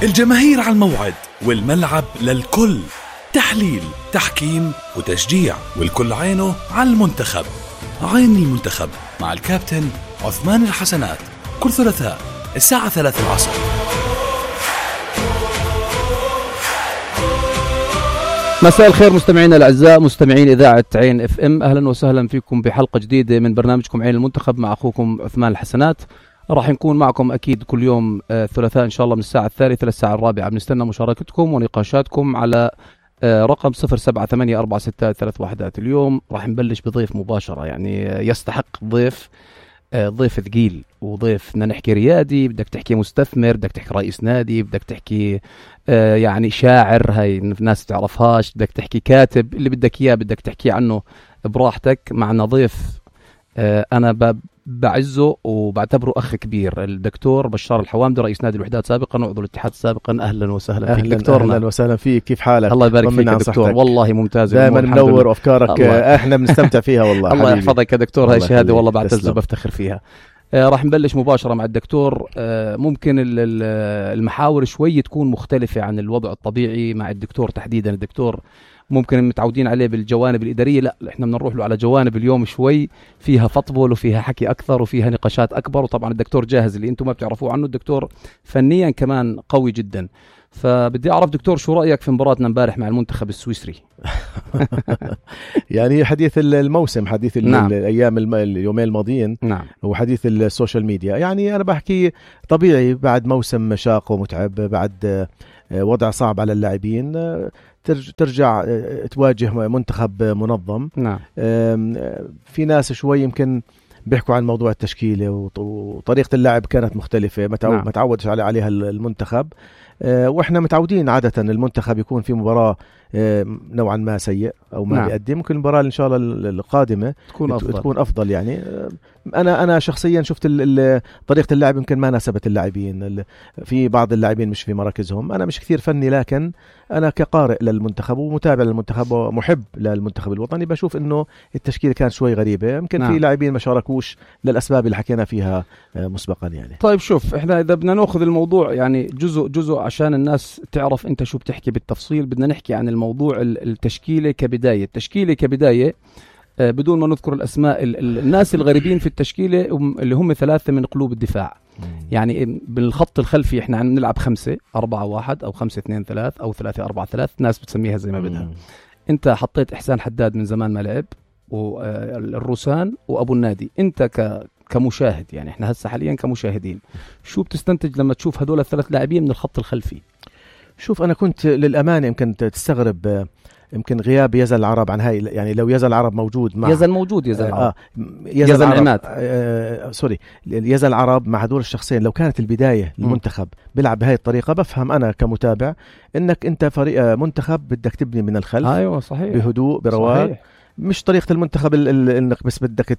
الجماهير على الموعد والملعب للكل، تحليل، تحكيم وتشجيع، والكل عينه على المنتخب. عين المنتخب مع الكابتن عثمان الحسنات، كل ثلاثاء الساعة 3 العصر. مساء الخير مستمعينا الأعزاء، مستمعين إذاعة عين اف ام، أهلا وسهلا فيكم بحلقة جديدة من برنامجكم عين المنتخب مع أخوكم عثمان الحسنات. راح نكون معكم أكيد كل يوم ثلاثاء إن شاء الله من الساعة 3 للساعة 4. بنستنى مشاركتكم ونقاشاتكم على رقم 07846331. اليوم راح نبلش بضيف مباشرة، يعني يستحق ضيف ثقيل وضيف. بدنا نحكي ريادي، بدك تحكي مستثمر، بدك تحكي رئيس نادي، بدك تحكي يعني شاعر، هاي الناس تعرفهاش، بدك تحكي كاتب، اللي بدك إياه بدك تحكي عنه براحتك. معنا ضيف أنا بعزه وبعتبره أخ كبير، الدكتور بشار الحوامدي، رئيس نادي الوحدات سابقا وعضو الاتحاد سابقا. أهلا وسهلا فيك دكتورنا. أهلا وسهلا فيك، كيف حالك؟ الله يبارك فيك دكتور، والله ممتاز، دائما منور وأفكارك احنا بنستمتع فيها والله. الله يحفظك يا دكتور، هاي شهادة والله بعتز وبفتخر فيها. راح نبلش مباشرة مع الدكتور. ممكن المحاور شوي تكون مختلفة عن الوضع الطبيعي مع الدكتور تحديدا. الدكتور ممكن متعودين عليه بالجوانب الإدارية، لا احنا بدنا نروح له على جوانب اليوم شوي فيها فطبل وفيها حكي أكثر وفيها نقاشات أكبر. وطبعا الدكتور جاهز، اللي انتم ما بتعرفوه عنه الدكتور فنيا كمان قوي جدا. فبدي أعرف دكتور شو رأيك في مباراتنا امبارح مع المنتخب السويسري؟ يعني حديث الموسم، حديث نعم. اليومين الماضيين، نعم. وحديث السوشيال ميديا. يعني أنا بحكي طبيعي بعد موسم شاق ومتعب، بعد وضع صعب على اللاعبين، ترجع تواجه منتخب منظم. نعم. في ناس شوي يمكن بيحكوا عن موضوع التشكيلة وطريقة اللعب كانت مختلفة، ما تعودش عليها المنتخب. واحنا متعودين عادة المنتخب يكون في مباراة نوعا ما سيء او ما بيقدم. ممكن المباراة ان شاء الله القادمة تكون افضل. يعني انا شخصيا شفت طريقة اللعب يمكن ما ناسبت اللاعبين، في بعض اللاعبين مش في مراكزهم. انا مش كثير فني، لكن انا كقارئ للمنتخب ومتابع للمنتخب ومحب للمنتخب الوطني بشوف انه التشكيل كان شوي غريبة. يمكن في لاعبين ما شاركوش للاسباب اللي حكينا فيها مسبقا. يعني طيب شوف، احنا اذا بدنا ناخذ الموضوع يعني جزء عشان الناس تعرف انت شو بتحكي بالتفصيل، بدنا نحكي عن الموضوع التشكيلة كبداية بدون ما نذكر الأسماء. الناس الغريبين في التشكيلة اللي هم 3 من قلوب الدفاع. يعني بالخط الخلفي احنا عم نلعب 5-4-1 أو 5-2-3 أو 3-4-3، ناس بتسميها زي ما بدها. انت حطيت إحسان حداد من زمان ما لعب، والروسان وأبو النادي. انت كمشاهد، يعني احنا هسه حاليا كمشاهدين، شو بتستنتج لما تشوف هدول ال3 لاعبين من الخط الخلفي؟ شوف، أنا كنت للأمانة يمكن تستغرب يمكن غياب يزن العرب عن هاي. يعني لو يزن العرب موجود مع يزن العرب يزن عماد سوري، يزن العرب مع هدول الشخصين، لو كانت البداية المنتخب بيلعب بهاي الطريقة، بفهم أنا كمتابع إنك أنت فريق منتخب بدك تبني من الخلف. أيوة صحيح، بهدوء برواق. مش طريقة المنتخب انك بس بدك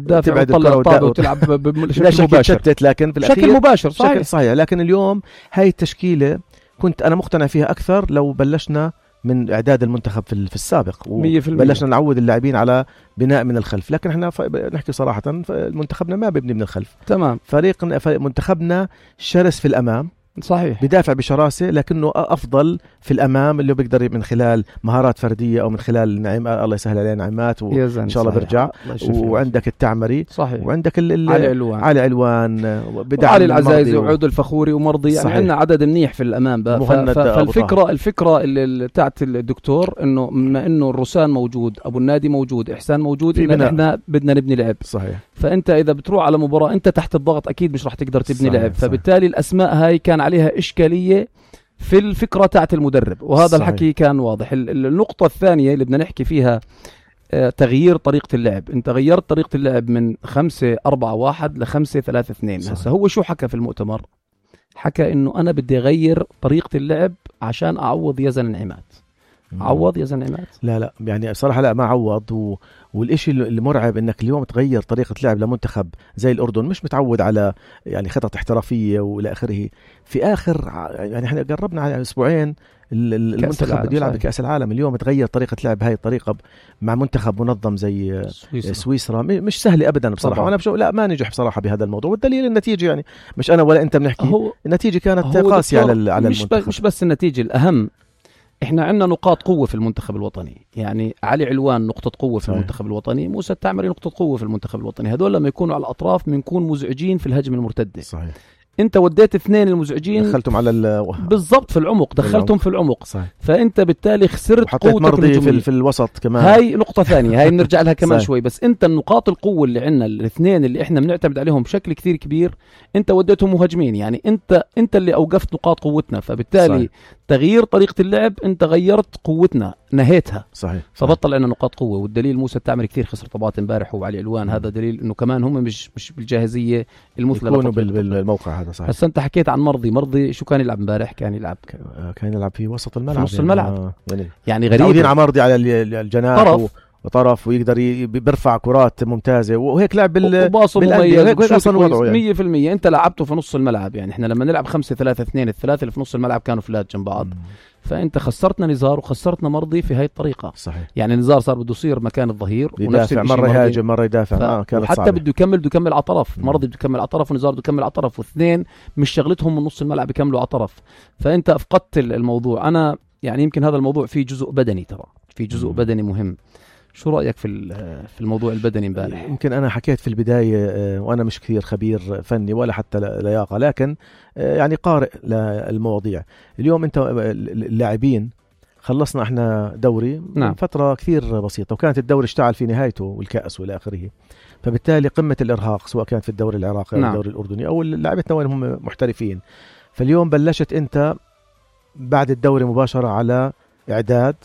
تبعد الكرة وتلعب بشكل مباشر، لكن في بشكل مباشر صحيح. لكن اليوم هاي التشكيلة كنت أنا مقتنع فيها أكثر لو بلشنا من إعداد المنتخب في السابق، وبلشنا نعود اللاعبين على بناء من الخلف. لكن احنا نحكي صراحة، منتخبنا ما بيبني من الخلف. تمام. منتخبنا شرس في الأمام، صحيح، بدافع بشراسة، لكنه أفضل في الأمام، اللي بيقدر من خلال مهارات فردية أو من خلال الله يسهل علينا نعمات، وإن شاء الله برجع. وعندك التعمري، صحيح، وعندك علي علوان علي العزايزي وعود الفخوري ومرضي. يعني عندنا عدد منيح في الأمام. فالفكرة اللي تاعت الدكتور إنه بما إنه الروسان موجود، أبو النادي موجود، إحسان موجود، إن إحنا بدنا نبني لعب. صحيح. فأنت إذا بتروح على مباراة أنت تحت الضغط، أكيد مش راح تقدر تبني لعب. فبالتالي الأسماء هاي كان عليها إشكالية في الفكرة تاعت المدرب، وهذا صحيح. الحكي كان واضح. النقطة الثانية اللي بدنا نحكي فيها تغيير طريقة اللعب. انت غيرت طريقة اللعب من 5-4-1 ل5-3-2. هسه هو شو حكى في المؤتمر؟ حكى انه انا بدي اغير طريقة اللعب عشان اعوض يزن عماد. عوض يزن عماد؟ لا يعني صراحة لا، ما عوض. والإشي المرعب انك اليوم تغير طريقة لعب لمنتخب زي الأردن مش متعود على يعني خطط احترافية والى اخره. في اخر يعني احنا قربنا على اسبوعين المنتخب بده يلعب بكأس العالم. اليوم تغير طريقة لعب هاي الطريقة مع منتخب منظم زي سويسرا مش سهلة أبدا بصراحة. وأنا بشوف لا ما نجح بصراحة بهذا الموضوع، والدليل النتيجة يعني مش أنا ولا أنت بنحكي، النتيجة كانت قاسية على المنتخب. مش بس النتيجة، الأهم إحنا عندنا نقاط قوة في المنتخب الوطني. يعني علي علوان نقطة قوة في المنتخب الوطني، موسى التعمري نقطة قوة في المنتخب الوطني. هذول لما يكونوا على الأطراف بنكون مزعجين في الهجمة المرتدة. صحيح. انت وديت اثنين المزعجين دخلتهم على بالضبط في العمق، دخلتهم في العمق. صحيح. فانت بالتالي خسرت قوتك مرضي في الوسط كمان. هاي نقطة ثانية، هاي بنرجع لها كمان شوي. بس انت النقاط القوة اللي عندنا الاثنين اللي احنا بنعتمد عليهم بشكل كثير كبير انت وديتهم مهاجمين. يعني انت اللي اوقفت نقاط قوتنا، فبالتالي صحيح. تغيير طريقة اللعب انت غيرت قوتنا، نهيتها. صحيح. فبطل عندنا نقاط قوة. والدليل موسى التعمري كثير خسر طبات امبارح وعلي علوان. هذا دليل انه كمان هم مش بالجاهزية المثلى يكونوا بالموقع هذا. صحيح. بس انت حكيت عن مرضي شو كان يلعب امبارح؟ كان يلعب في وسط الملعب، في نص الملعب. يعني غريب. عودين على مرضي على الجناح وطرف ويقدر بيرفع كرات ممتازة وهيك لعب بالقلب اصلا وضعه 100%. انت لعبته في نص الملعب. يعني احنا لما نلعب 5-3-2 الثلاثة اللي في نص الملعب كانوا فلات جنب بعض. فانت خسرتنا نزار وخسرتنا مرضي في هاي الطريقة. صحيح. يعني نزار صار بده يصير مكان الظهير يدافع، مرة يهاجم مرة يدافع. حتى بده يكمل على طرف. مرضي بده يكمل على طرف ونزار بده يكمل على طرف، واثنين مش شغلتهم من نص الملعب يكملوا على طرف. فانت افقدت الموضوع. انا يعني يمكن هذا الموضوع فيه جزء بدني، ترى في جزء بدني مهم. شو رأيك في الموضوع البدني امبارح؟ يمكن أنا حكيت في البداية وأنا مش كثير خبير فني ولا حتى لياقة، لكن يعني قارئ للمواضيع. اليوم أنت اللاعبين خلصنا احنا دوري من فترة كثير بسيطة، وكانت الدوري اشتعل في نهايته والكأس والى آخره. فبالتالي قمة الإرهاق سواء كانت في الدوري العراقي أو الدوري الأردني أو لاعبتنا وين هم محترفين. فاليوم بلشت أنت بعد الدوري مباشرة على إعداد